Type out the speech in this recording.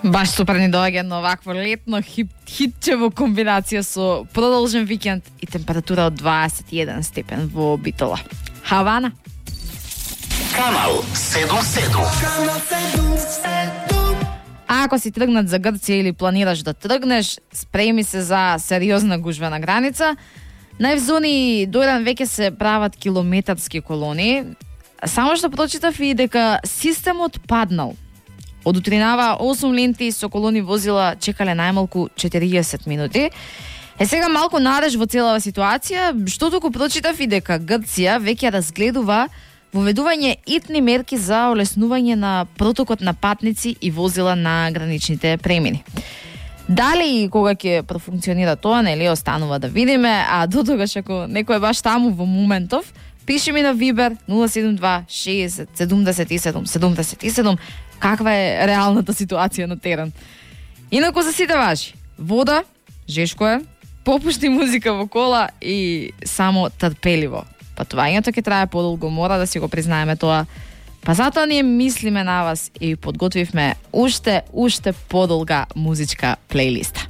Баш супер ни доаѓа едно овакво летно хитче во комбинација со продолжен викенд и температура од 21 степен во Битола. Хавана. Канал 77. А ако си тргнат за Грција или планираш да тргнеш, спреми се за сериозна гужва на граница. На зони до еден веќе се прават километарски колони. Само што прочитав и дека системот паднал. Од утринава 8 ленти со колони возила чекале најмалку 40 минути. Сега малку надеж во целава ситуација, што туку прочитав и дека Грција веќе разгледува воведување итни мерки за олеснување на протокот на патници и возила на граничните премини. Дали и кога ќе профункционира тоа, нели останува да видиме, а до тогаш ако некој е баш таму во моментов, пиши ми на Viber 072 60 77 77 каква е реалната ситуација на терен. Инаку за сите важи. Вода, жешко е, попушти музика во кола и само трпеливо. Патувањето ќе трае подолго, мора да си го признаеме тоа. Па затоа ние мислиме на вас и подготвивме уште подолга музичка плейлиста.